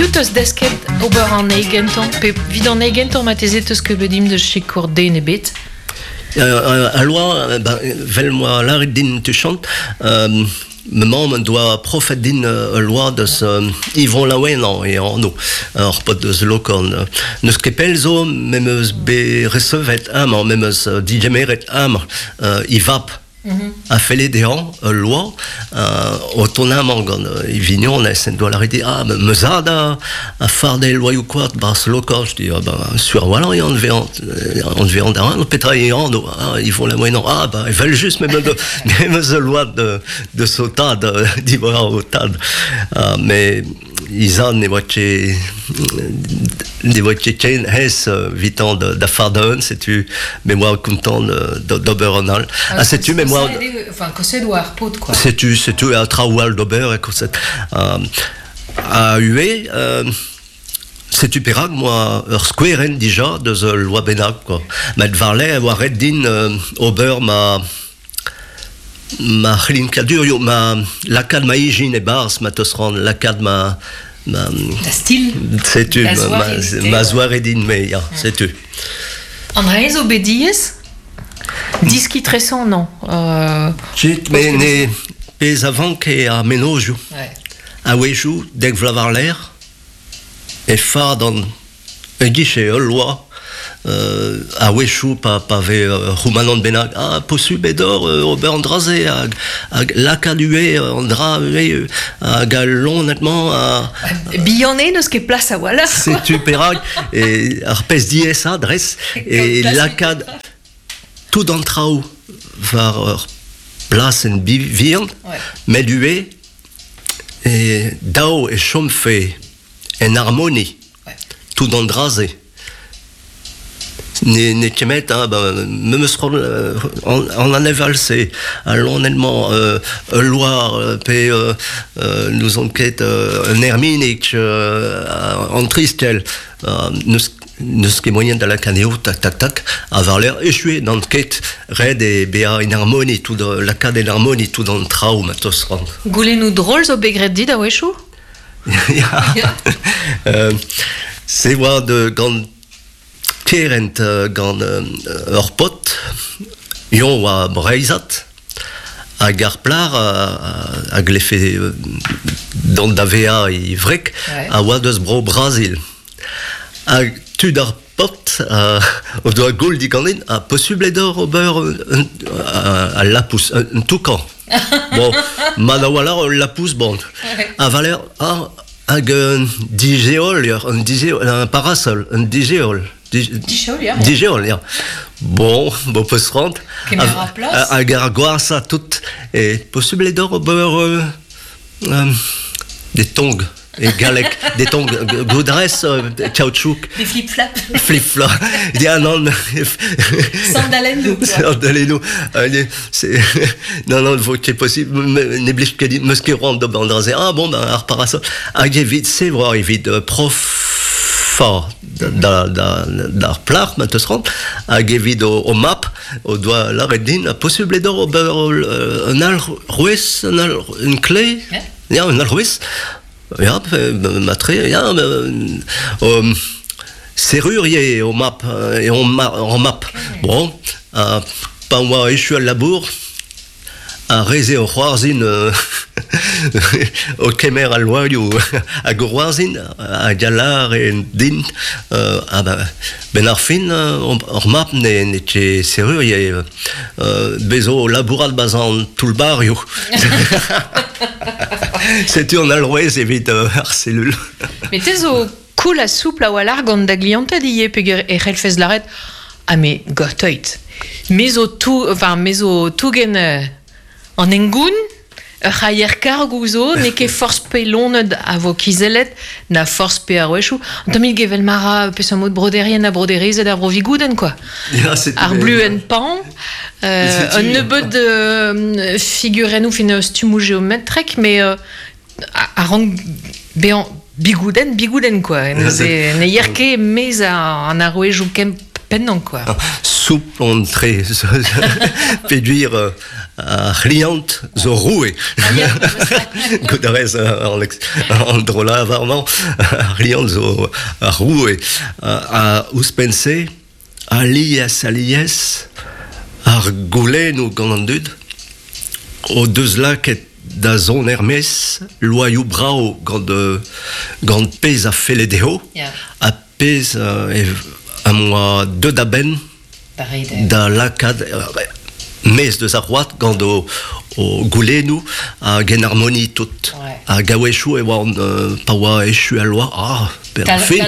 Piv 'teus desket ober an eil gentañ Pe evit an eil gentañ marteze 'teus ket bet dimp da sikour den ebet Al loa, ben, 'vel m'oa lâret din tuchant, ma mamm en doa profet din ul loa deus Yvon Laouenan e anv, ur paotr deus Lokorn. N'eus ket pell zo me'm eus bet resevet amañ, me'm eus digemeret amañ e vab a felle dezhañ ul loa o tont amañ gant e vignonez en doa lâret dit ah ma zad a farde loaioù koad 'barzh Lokorn. Je dis ah ben sur a-walc'h eo anvezañ da petra eo anv ah Yvon Laouenan ah ben evel-just me 'meus ul loa deus ho tad diwar ho tad met he zad ne oa ket ne oa ket ken aes evitañ da fardañ un setu me oa kontant d'ober un all ha setu me oa enfin koset oa ar paotr quoi setu setu ha traoù all d'ober e koset ha ivez setu perak 'moa ur skouerenn dija deus ul loa bennak quoi met war-lerc'h e oa ret din ober ma Ma c'hlinkadurioù, ma lakaat ma ijin e-barzh, ma teus c'hoant lakaat ma... ma Da stil Setu, ma, ma zoare din-me, ya, setu. An dra zo bet diaes Diskiñ tresañ, non Ket, met ne pezh a vanke ar mennozhioù. Ouais. A-wezhioù, dek vloaz war-lerc'h, e fardan E-giz ul loa a-wechoù pa, pa vez ur c'houmanant bennak ah posubl eo deoc'h ober an dra-se hag, hag lakaat ivez an dra ivez hag al loened-mañ ha Bihan eo n'eus ket plas a-walc'h. Setu perak e ar pezh diaesañ dres e lakaat tout an traoù war ur blasenn vihan met ivez e dav e chomfe en harmoni tout an dra-se. Ne, n'eo ket met, hein, ben, memes c'hoant an, an aneval-se, al loened-mañ, ul loar pe n'ouzon ket un erminig, an tristell, n'eus n'eus ket moaien da lakaat anezho tak tak tak ha war-lerc'h echu eo n'an ket ret eo bezañ en harmoni tout lakaat en harmoni tout an traoù ma teus c'hoant. Goulennoù drol zo bet graet dit a-wechoù? Ya. Se oa de gant kerent gant ur paotr, eñ oa breizhat, hag ar plac'h a glefe dont da vezañ e wreg a oa deus bro Brazil. Hag tud ar paotr o doa goul diganin ha posubl eo deoc'h ober al lapous, un toukan. Bon, mat a-walc'h ul lapous bon. A valer ah, hag un digeol, un digeol, un parasol, un digeol. Digeol, ya. Digeol, ya. Bon, bon peus c'hoant. Kemer ar plas. Hag ar gwashañ tout. E posubl eo deoc'h ober des tongs. E galleg, des tongs goudrez, caoutchouc. Des flip-flops. Flip-flop. Ya, non. Sandalennoù. Sandalennoù. C'est non, non, vo ket possible. Ne blij ket din, 'meus ket c'hoant d'ober an dra-se. Ah bon, ben, ar parasol. Hag evit se, oa evit profañ da, da, d'ar plac'h ma teus c'hoant, hag evit o, o mab, o doa lâret din, ha posubl eo d'ober un alc'hwez, un, al, une clé Ya, un alc'hwez. Ya, matre, ya, serrurier eo mab, eo hor mab. Bon, pa oa echu al labour, ar re-se o c'hoarzhin o kemer al loarioù hag o c'hoarzhin hag a lâre din ah ben, 'benn ar fin hor mab n'eo ket serrurier bez zo o labourat 'barzh an toull-barioù. Setu an alc'hwez evit ar selul. Met te zo cool ha soupl a-walc'h gant da glianted ivez peogwir e c'hellfes lâret ah me gortoit. Me zo tou, enfin me zo tougen an hengoun Ur c'haier kargoù zo, n'eo ket forzh pe loened a vo kizellet, na forzh pe arouezioù. Un tammig evel ma ra peseurt mod broderien ha broderezed ar Vro-Vigoudenn, quoi. Ya, setu Ar bluenn pan, un nebeud figurennoù fin stummoù geometrek, mais a rank bezañ bigoudenn, bigoudenn, quoi. Neuze ne yer ket e-maez an arouezioù kempennañ, quoi. Soupl on tre peogwir ar c'hliant zo roue. Goût a rez an dro-lavar-mañ, ar c'hliant zo ar roue. Ha ouzhpenn-se, alies, alies, ar goulennoù gant an dud o deus lakaet da zont er-maez loaioù brav gant, gant pezh a felle dezho ha pezh am boa deuet a-benn da lakaat maez deus ar c'hoad gant o, o goulennoù hag en harmonie tout. Hag a-wechoù e oan pa oa echu al loa, ah, fin.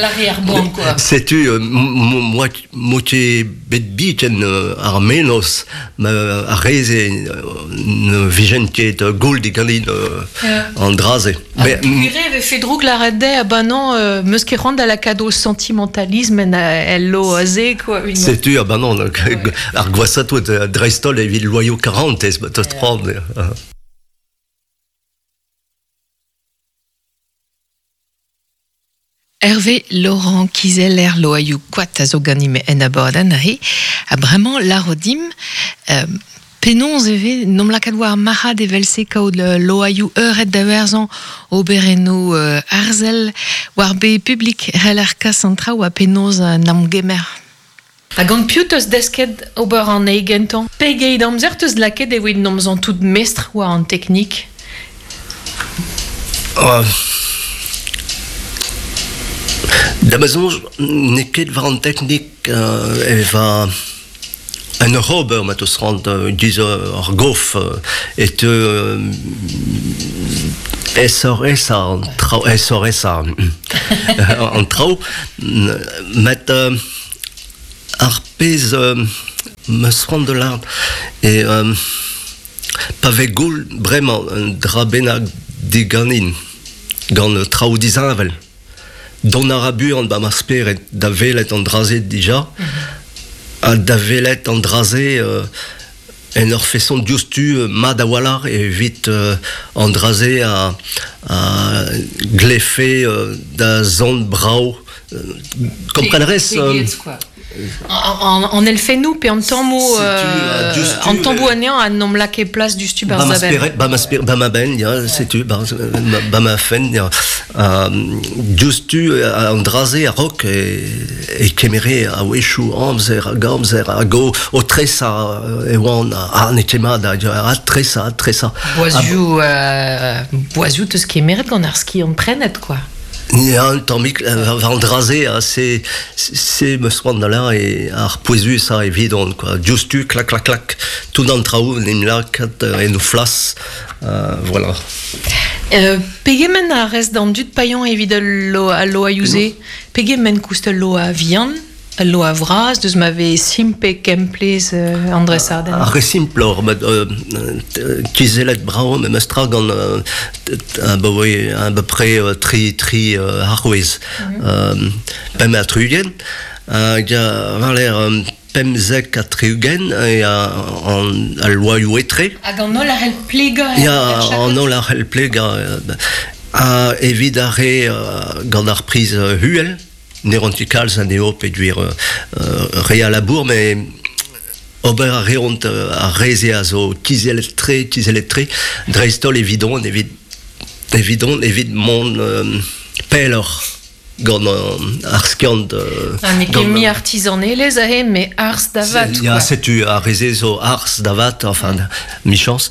Setu moi m'o ket bet biken ar mennozh ar re-se ne vijent ket goul diganin an dra-se. Mais Purée vefe droug lâret dezhe, ah bah non, meus ket c'hoant da lakaat o sentimentalisme en el lo aze, quoi. Setu, ah bah non, ar gwashañ tout, dreist-holl evit loaioù karantez, ma teus c'hoant. Hervé Laurent kizeller loaioù koad a zo ganimp en abadenn aze. Ha bremañ lâro dimp penaos e vez n'omp lakaat war ar marc'had evel-se kaout loaioù eured da werzhañ oberennoù arzel war be publik c'heller kas an traoù ha penaos n'am gemer. Ha gant piv 'teus desket ober an eil gentañ? Pegeit amzer 'teus lakaet evit n'omp santout mestr war an teknik? Da ma soñj n'eo ket war an teknik e va en ur ober ma 'teus c'hoant giz ur gof e teu aesoc'h-aesañ an traoù aesoc'h-aesañ an traoù met ar pezh 'm eus c'hoant da lâret eo pa vez goul bremañ un dra bennak diganin gant traoù disheñvel Dont a ra buan 'ba ma spered da welet an dra-se dija ha da welet an dra-se en ur feson diouzhtu mat a-walc'h evit an dra-se a glefe da zont brav. Kompren a rez? An elfennoù pe an tammoù an tammoù anezhañ a n'omp lakaet plas diouzhtu barzh da benn. Ba ma spered, ba ma benn, ya, setu, ba ma fenn, ya. Diouzhtu an dra-se a-raok e kemere a-wechoù amzer hag amzer hag o tresañ e oan ah n'eo ket mat ha tresañ, tresañ. Boazioù, boazioù 'teus kemeret gant ar skiant-prenet, quoi. Ya, un tammig war an dra-se, c'est c'est meus c'hoant da lâret eo ar pouezusañ evidon quoi. Diouzhtu, klak klak klak, tout an traoù en em lakaat en o flas, voilà. Pegement a rez d'an dud paeañ evit al loaioù-se? Pegement koust ul loa vihan? Ul loa vras deus ma vez simpl pe kemplez an dresadenn. Ar re simploc'h, met kizellet brav memestra gant abaoe à peu près tri tri arouez. Pemp ha 60 hag war-lerc'h 75 e al loaioù etre. Hag an holl a c'hell plegañ Ya, an holl a c'hell plegañ. Ha evit ar re gant ar priz uhel, Ne ran ket kalz anezho peogwir re a labour, met ober a reont ar re-se a zo kizellet-tre, kizellet-tre, dreist-holl evidon, evit evidon, evit mont pelloc'h gant ar skiant. Ah, n'eo ket mui artizanelezh aze, mais arz da vat. Ya, setu ar re-se zo arz da vat, enfin, michañs.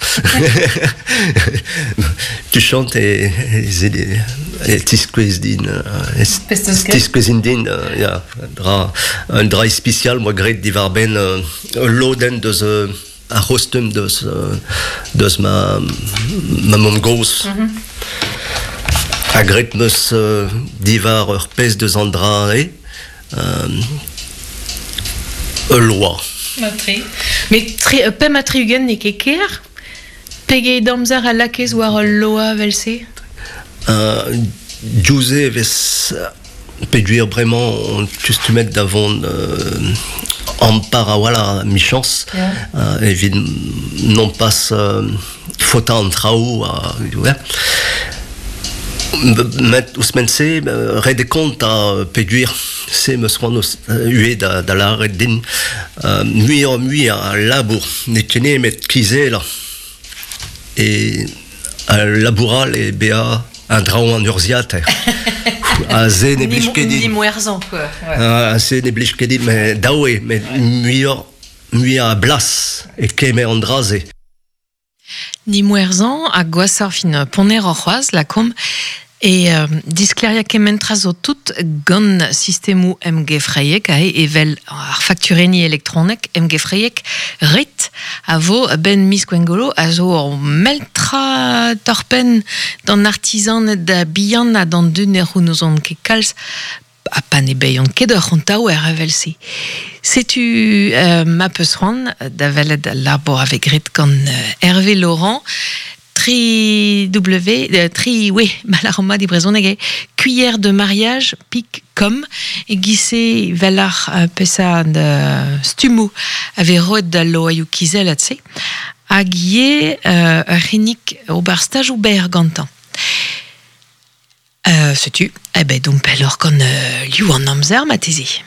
Tu chantes et, et tiskouez din tiskouezin din ya dra un dra ispisial moa graet diwar-benn ul lodenn deus ar c'hostum deus deus ma ma mamm-gozh ha graet 'meus diwar ur pezh deus an dra-se ul loa. Mat-tre. Met tre, 65 n'eo ket ker? Pegeit amzer a lakaez war ul loa evel-se? Diouzh e vez peogwir bremañ on kustumet da vont ampar a-walc'h michañs evit nompas faotañ an traoù. Met ouzhpenn-se, ret eo kontañ peogwir se 'm eus c'hoant ivez da lâret din muioc'h-mui a labour n'eo ket nemet kizellañ. E al labour all eo bezañ un draoñ an urzhiataer. Ha se ne blij ket din. Nimwerzhañ quoi. Ha se ne blij ket din, met dav eo, met muioc'h mui a blas e kemer an dra-se. Nimwerzhañ ha gwashoc'h fin ponneroc'h c'hoazh lakaomp e disklêriañ kement tra zo tout gant sistemoù emgefreiek aze evel ar fakturenniñ elektronek emgefreiek ret a vo a-benn miz Gwengolo a zo ur mell tra torr-penn d'an artizaned bihan ha d'an dud ne c'hounezont ket kalz ha pa ne baeont ket ur c'hontaouer evel-se. Setu ma peus c'hoant da welet al labour a vez graet gant Hervé Laurent, tri W, tri we, ma lâran mat e brezhoneg eo, cuillère de mariage pik com, e-giz-se 'vel ar peseurt stummoù a vez roet d'al loaioù kizellat-se, hag ivez ur c'hinnig ober stajoù berr gantañ. Setu, eh ben domp pelloc'h gant liv an amzer marteze.